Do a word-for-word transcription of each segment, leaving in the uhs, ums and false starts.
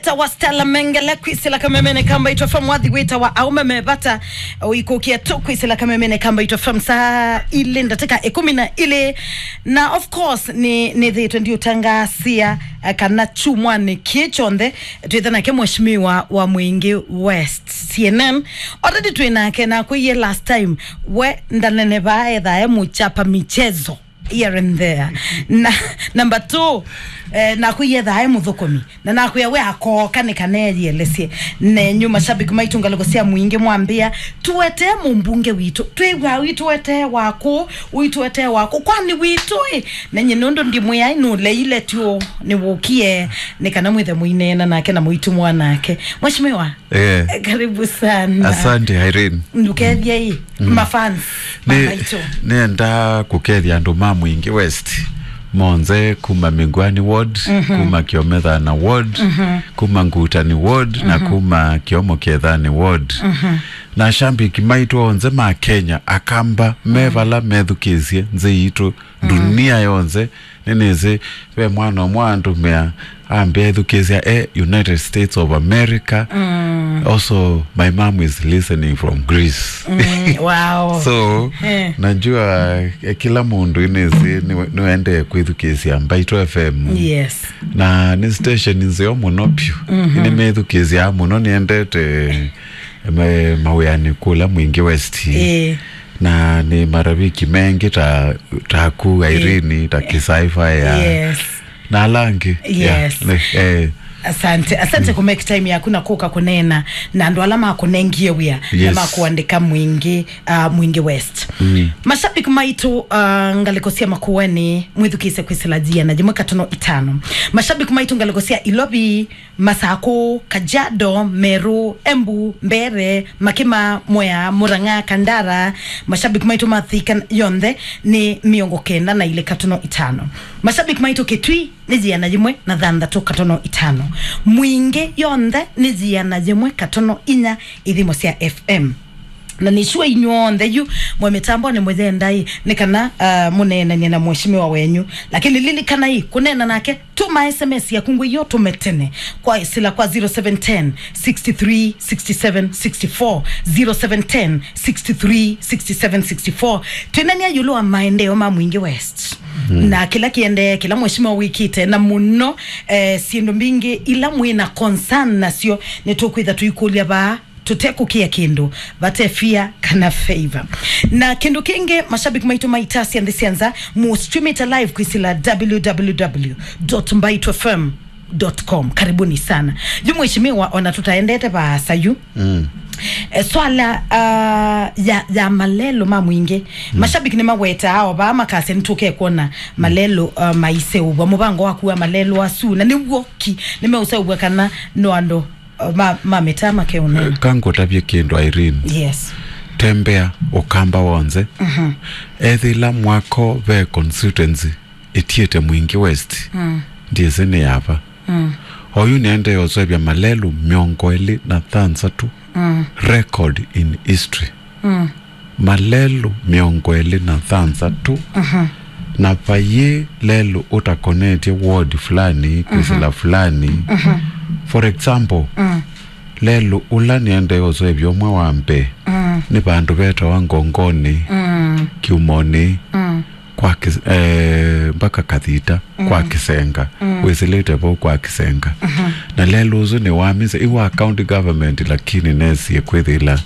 Tawa Stella Mengele kwĩsĩla kamemene ka Mbaitũ F M, wathi wĩtawa Aume Me Vata. Ũikũkie tu kwĩsĩla kamemene ka Mbaitũ F M saa ilĩ ndatĩka ĩkũmi na ilĩ. Na of course, nĩ, nĩthĩĩtwe ndiũtangasia, eh, kana kyumwanĩ kĩĩ kyonthe, twĩtha nake mheshimiwa wa Mwingi West, C N N. Already twĩ nake, na kwĩie last time, we ndanenevaa, ethaa e mũchapa michezo here and there. Na, number two, eh, nakwĩie ethaa e mũthũkũmi. Na nakwĩa we akooka nĩ kana eyĩelesye. Nenyu mashabiki maitũ ngalĩko sya Mwingi mwambĩa, tũetee mũmbunge witũ. Twĩw'a ũitũetee wakũ, ũitũetee wakũ. Kwani witũ ĩ? Na nyie nũndũ ndimwĩai nũleile tu, nĩwũkie nĩ kana mwĩthe mũineena nake na mũitũmwa nake. Mheshimiwa, eh, karibu sana. Asante, Irene. Ndũkethye ĩ, mm, mafans ma Nĩ-, maitũ. Nĩenda kũkethya andũ ma Mwingi West monthe kuma Mĩngwani Ward, mhm, kuma Kĩomethana Ward, mhm, kuma Ngutani Ward, na, mhm, kuma Kĩomo Kĩethani Ward. Mhm. Na ashambiki maitũ onthe ma Kenya, Akamba, me, mhm, vala methukĩĩsye nthĩ yitũ, dunia yonthe, nĩnĩsĩ ve mwana ũmwe andũmĩa ambĩa ethukĩĩsya e United States of America. Mm. Also, my mom is listening from Greece. Mm, wow. So, eh, najua, eh, kĩla mũndũ nĩnĩsĩ nĩwe-, nĩwendee kwĩthukĩĩsya Mbaitũ F M. Yes. Na nĩ station nzeo mũno piũ. Mhm. Nĩmĩthukĩĩsyaa mũno, nĩendete, eh, ma-, mawĩanĩ kũla Mwingi West. Eh. Na nĩ marafiki mengĩ ta, taku, eh, Irene, ta Kisaifa ya. Yes. Na ala angĩ. Yes. Yeah, nĩ, eh. Asante, asante, mm, ku make time yaku na kũka kũneena na andũ ala makũnengie wĩa na, yes, makũandĩka Mwingi, uh, Mwingi West. Mm. Mashabiki maitũ, uh, ngalĩko sya Makueni, mwĩthukĩĩsye kwĩsĩla yĩana yĩmwe katono itano. Mashabiki maitũ ngalĩko sya Ilovi, Masakũ, Kajiado, Meru, Embu, Mbeere, Makima, Mwea, Murang'a, Kandara, mashabiki maitũ ma Thika yonthe nĩ mĩongo kenda na ilĩ katono itano. Mashabiki maitũ Kitui nĩ yĩana yĩmwe na thanthatũ katono itano. Mwingi yonthe nĩ yĩana yĩmwe katono inya ithimo sya F M. Na nĩ sure inyw'onthe yu mwe mĩtambonĩ mũyenda ĩ, nĩ kana, ah, mũneenanie na mheshimiwa wenyu. Lakini lilikanai, kũneena nake, tũma S M S yaku ngwĩ yo tũme tene kwa sila kwa zero seven ten, six three, six seven, six four, zero seven ten, six three, six seven, six four. Twĩnania ĩũlũ wa maendeeo ma Mwingi West. Mm. Na kĩla kĩendee, kĩla mheshimiwa wĩkĩte, na mũno, eh, syĩndũ mbingĩ ila mwĩ na concern nasyo, nĩtũkwĩtha tũikũlya vaa. Tũtekũkĩa kĩndũ, vate fear kana favor. Na kĩndũ kĩngĩ, mashabiki maitũ maitasya nthĩ sya nza, mu stream it live kwĩsĩla w w w dot mbaitũ f m dot com. Karibuni sana. Yu mheshimiwa, ona tũtaendete vaasa yu. Mm. E, swala, ah, ya, ya malelũ ma Mwingi. Mm. Mashabiki nĩmawetaa o vaa makasya nĩtũke kwona malelũ, ah, maiseũvwa. Mũvango waku wa malelũ asu, na nĩw'o ki, nĩmeũseũvwa kana no andũ ma, ma mĩtaa makeũnena. Kangũtavye kĩndũ, Irene. Yes. Tembea Ũkamba w'onthe. Mhm. Ethĩla mwako ve constituency ĩtiĩte Mwingi West, mm, ndiĩsĩ nĩ yava. Mm. Oyu nĩendee ũsũvya malelũ mĩongo ĩlĩ na thanthatũ, mm, record in history. Mm. Malelũ mĩongo ĩlĩ na thanthatũ, mhm, na vayĩ lelũ ũtakonetye ward fulani kwĩsĩla, mhm, fulani. Mhm. For example, mm, lelũ ũla nĩendee ũsũvya ũmwe wa mbee, mm, nĩ vandũ vetawa Ngongoni, mm, Kiumoni, mm, kwa Kis-, eh, mpaka Kathita, kwa, mm, Kisenga. Mm. Wĩsĩlĩte vau kwa Kisenga. Mhm. Na lelũ ũsu nĩ wa misa, i wa county government, lakini nesie kwĩthĩla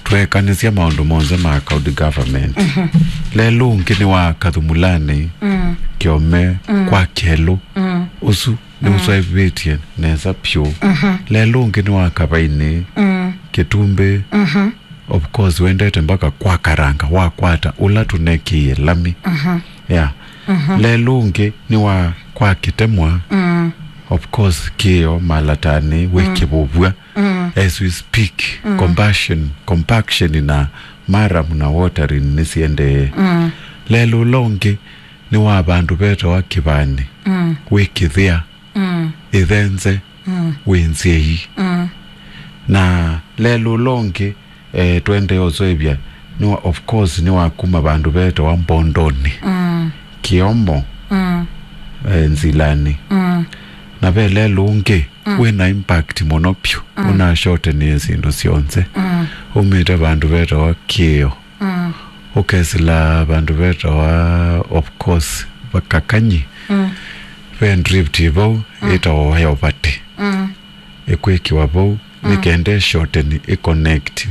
twekanĩsya maũndũ monthe ma county government. Mhm. Lelũ ũngĩ nĩ wa Kathumulani, mm, Kĩome, mm, kwa Kelũ. Mm. Ũsu nĩ, mm, ũswaivĩtye nesa pyũ. Mhm. Lelũ ũngĩ nĩ wa Kavainĩ, mm, Kĩtumbĩ. Mhm. Of course, wendete mpaka kwa Karanga, wakwata ũla tũnekĩie lami. Mhm. Yeah. Mhm. Lelũ ũngĩ nĩ wa kwa Kĩtemwa. Mm. Of course, kĩo Malatani, wĩ, mm, Kĩvũvw'a. Mm. As we speak, mm, compassion, compaction na maram na watering nĩsiendee. Mm. Lelũ ũla ũngĩ nĩ wa vandũ vetawa Kĩvani, mm, wĩ Kĩthĩa, mm, Ĩthenze, mm, wĩ Nzei. Mm. Na lelũ ũla ũngĩ, eh, twendee ũsũvya, nĩ wa, of course, nĩ wa kuma vandũ vetawa Mbondoni, mm, Kĩomo, mm, eh, Nzilani. Mm. Na ve lelũ ũngĩ, mm, wĩ na impact mũno vyũ. Mm. Ũnashortenĩe syĩndũ syonthe. Mm. Umĩte vandũ vetawa Kĩo. Mm. Ũkesĩla vandũ vetawa, of course, va Kakanyi. Mm. Ve drift vau, mm, ĩtawa Wayovati. Mm. Ĩkwĩkĩwa vau, mm, nĩ kenda ĩshorteni ĩconnect